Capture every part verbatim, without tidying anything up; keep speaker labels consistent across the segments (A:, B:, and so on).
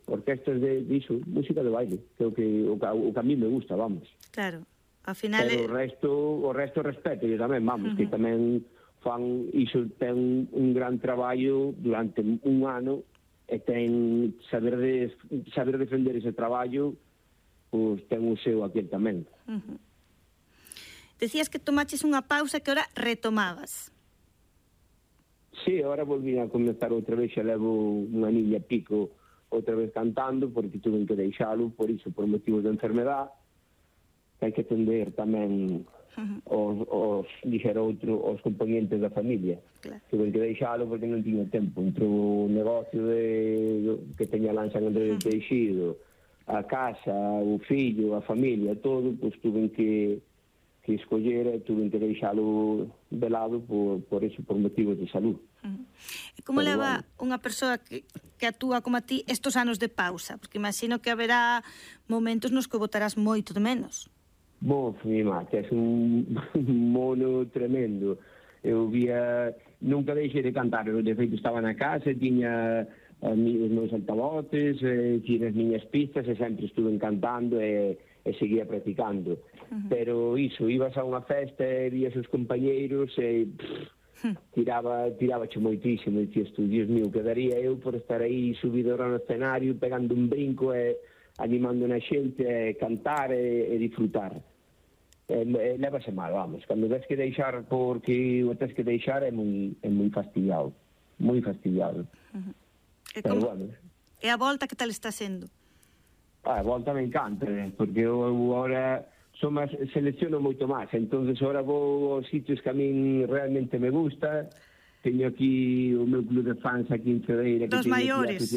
A: orquestas de, de iso, música de baile, que o que, o, o que a mí me gusta, vamos.
B: Claro, ao final...
A: Pero o resto, o resto respeto, e tamén, vamos, uh -huh. que tamén fan, iso ten un gran traballo durante un ano, e ten saber de, saber defender ese traballo, pois ten o seu aquel tamén.
B: Uh -huh. Decías que tomaches unha pausa que ahora retomabas.
A: Sí, ahora volví a comenzar outra vez, xa levo unha niña pico outra vez cantando, porque tuve que deixalo, por iso, por motivos de enfermedad, que hai que atender tamén os, os, dixer outro, os componentes da familia. Claro. Tuve que deixalo porque non tiña tempo. Entre o negocio de, que teña lá en San Andrés de Teixido, a casa, o fillo, a familia, todo, pois tuve que, que escoller e tuve que deixalo de lado por, por eso, por motivos de salud.
B: Uh-huh. E como Pero, leva bueno, unha persoa que, que actúa como a ti estos anos de pausa? Porque imagino que haberá momentos nos que botarás moito de menos.
A: Bo, mi mate, é un mono tremendo. Eu vía, nunca deixei de cantar, eu de feito estaba na casa, tiña os meus altavoces, eh, tiña as miñas pistas e sempre estuve cantando e, e seguía practicando. Uh-huh. Pero iso, ibas a unha festa e vías os compañeiros e pff, uh-huh. tiraba, tiraba che moitísimo e dicías tú, Dios mío, quedaría eu por estar aí subido no escenario pegando un brinco e animando na xente a cantar e, e disfrutar. E, e levase mal, vamos. Cando ves que deixar porque o tes que deixar é moi, é moi fastidiado. Moi fastidiado.
B: Uh-huh. E,
A: Pero,
B: como...
A: bueno.
B: E a volta que tal está sendo?
A: Ah, a volta me encanta, porque eu agora son máis, selecciono moito máis. Entonces agora vou aos sitios que a min realmente me gusta. Teño aquí o meu club de fans aquí en Cedeira.
B: Dos maiores.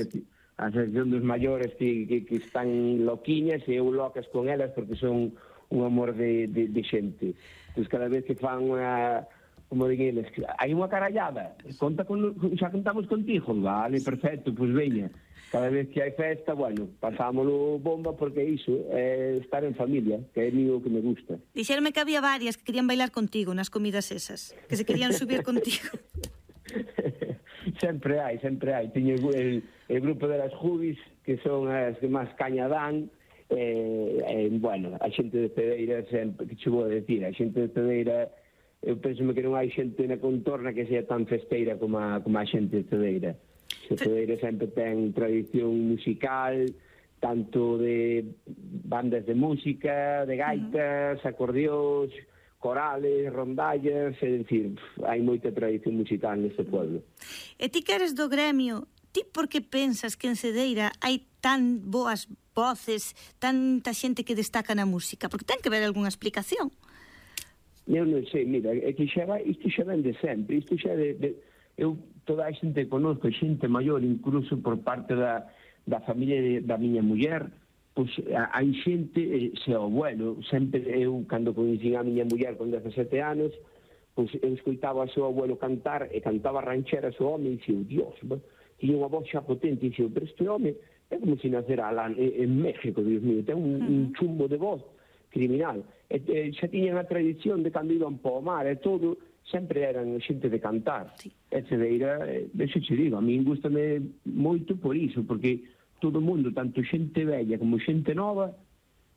A: A sección dos maiores que, que, que están loquiñas e eu locas con elas porque son un amor de, de, de xente. Pois cada vez que fan unha, como diguen eles, hai unha carallada, conta con, xa contamos contigo, vale, perfecto, pois veña. Cada vez que hai festa, bueno, pasámoslo bomba porque iso é estar en familia, que é o que me gusta.
B: Dixerme que había varias que querían bailar contigo nas comidas esas, que se querían subir contigo.
A: Sempre hai, sempre hai. Teño el, el grupo de las Jubis, que son as que máis caña dan. Eh, eh, bueno, a xente de Cedeira sempre, que che vou a decir, a xente de Cedeira, eu penso que non hai xente na contorna que sea tan festeira como a, como a xente de Cedeira. A Cedeira sempre ten tradición musical, tanto de bandas de música, de gaitas, uh-huh. acordeóns, corales, rondallas, é dicir, hai moita tradición musical neste pueblo.
B: E ti que eres do gremio, ti por que pensas que en Cedeira hai tan boas voces, tanta xente que destaca na música? Porque ten que haber algunha explicación.
A: Eu non sei, mira, é que xa vai, isto xa ven de sempre, isto xa de, de eu toda a xente conozco, xente maior, incluso por parte da, da familia de, da miña muller, pois hai xente, se o abuelo, sempre eu, cando coñecín a miña muller con dezasete anos, pois eu escoitaba o seu abuelo cantar, e cantaba rancheras o home, e dixo, Dios, tiña unha voz xa potente, e dixo, pero este home é como se nacera lá en México, Dios mío, ten un, un chumbo de voz criminal. E, e xa tiñan a tradición de cando iban po mar e todo, sempre eran xente de cantar. Sí. E Cedeira, deixo che digo, a min gustame moito por iso, porque todo o mundo, tanto xente bella como xente nova,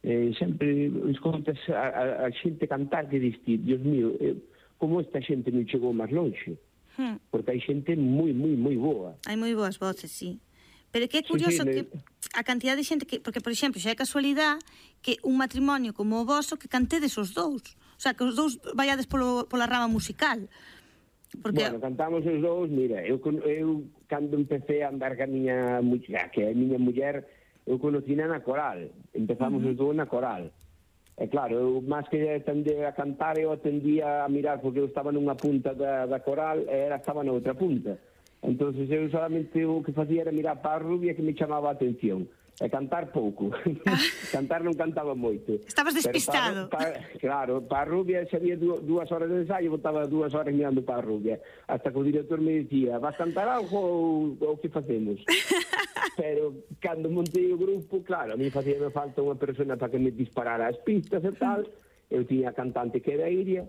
A: eh, sempre escoitas a, a, a xente cantar que diste, Dios mío, eh, como esta xente non chegou máis longe. Hmm. Porque hai xente moi, moi, moi boa.
B: Hai moi boas voces, sí. Pero que é curioso sí, sí, que a cantidad de xente que... Porque, por exemplo, xa é casualidade que un matrimonio como o voso que cantedes os dous. O sea, que os dous vaiades polo, pola rama musical.
A: Porque... Bueno, cantamos os dous, mira, eu, eu cando empecé a andar ca miña muller, que é a miña muller, eu conocina na coral. Empezamos uh -huh. os dous na coral. E claro, eu máis que atender a cantar, eu atendía a mirar, porque eu estaba nunha punta da, da coral e ela estaba na outra punta. Entonces eu solamente o que facía era mirar para a rubia que me chamaba a atención. E cantar pouco. Ah. Cantar non cantaba moito.
B: Estabas despistado.
A: Para, para, claro, para a rubia se había dúas horas de ensayo, botaba dúas horas mirando para a rubia. Hasta que o director me dicía, vas cantar algo ou, ou que facemos? Pero cando montei o grupo, claro, a mí facía me falta unha persona para que me disparara as pistas e tal. Eu tiña a cantante que era Iria.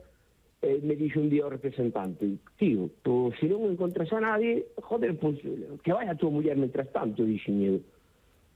A: E me dixo un día o representante, tío, pues, se non encontras a nadie, joder, pues, que vaya a tua muller mentras tanto, dixen eu.